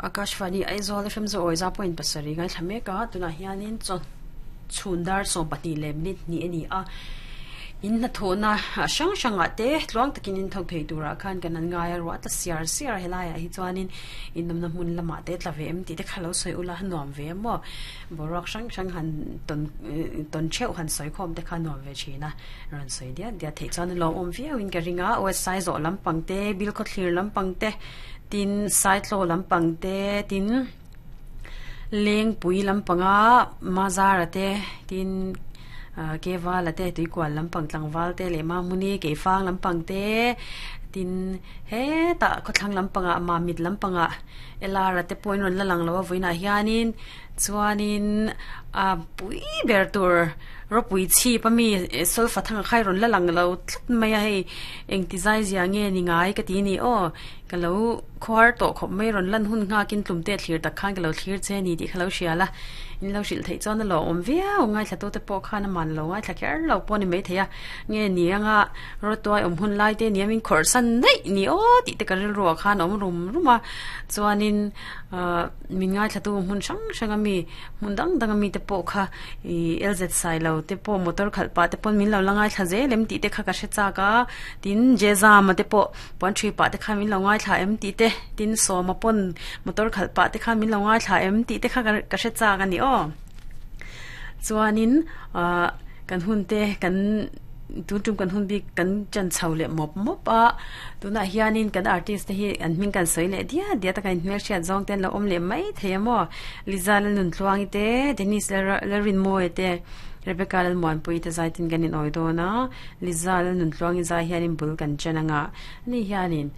Akashvani Aizawl FM Zawi za point pasarih ngaithla mek a, tunah hianin chaw chhun dar 12 leh minute hnih a ni a, in hnathawhna hrang hrangah te tluang takin in thawk thei turah khan kan han ngai a, ruah tla siar siar a helaiah hi chuanin inawmna hmun lamah te tla ve em tih te kha lo sawi ula a nuam ve maw boruak hrang hrang han tawn tawn theuh han sawi khawm te kha a nuam ve thin a, rawn sawi diat diat theih chuan a lawmawm viauin ka ring a, website zawh lampang te bilkhawthlir lampang te. Tin, Saitlaw lampang te, tin Lengpui lampanga Mazara te, tin Kevala te, Tuikual lampang tlangval te leh Mamuni Keifang lampang te, tin hetah khawthlang lampangah Mamit lampangah Elara te pawhin rawn la lang lo a vawiinah hianin chuanin a pui ber tur ropui chhip ami solfa thang a khai rawn la lang lo tlat mai a hei engti zai zia nge ni ngai ka ti a ni aw ka lo khuar tawh khawp mai rawn lan hun nghak in tlum te thlir tak khan ka lo thlir che a ni tih kha lo hria la in lo hrilh theih chuan a lo awm viau ngaithla tu te pawh khan a man lo ngaithla kher lo pawh a ni maithei a nge ni anga rawtuai awm hun lai te nia min khawrh san daih ni aw tih te ka rilru ah khan a awm rum rum a chuanin ahh min ngaithla tu hmun hrang hrang ami hmun dang dang ami te pawh kha ih LZ Sailo te pawh motor khalh pah te pawn min lo la ngaithla zel em tih te kha ka hre chak a tin Jezama te pawh puan ṭhui pah te khan min lo ngaithla em tih te tin Sawma pawn motor khalh pah te khan min lo ngaithla em tih te kha ka hre chak a ni aw chuanin ahh kan hun te kan tun tum kan hun bik kan chan chho leh mawp mawp a tunah hianin kan artist te hi an hming kan sawi leh diat diat a kan inhmelhriat zawng te an lo awm leh mai thei a maw Liza Lalnuntluangi te Dennis Lalrinmawia te Rebecca Lalmuanpuii te zai tin kan inawi dawn a Liza Lalnuntluangi zai hianin bul kan chen anga ani hianin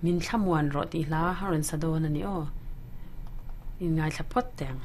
min thlamuan rawh tih hla a rawn sa dawn a ni aw inngaithla phawt teh ang.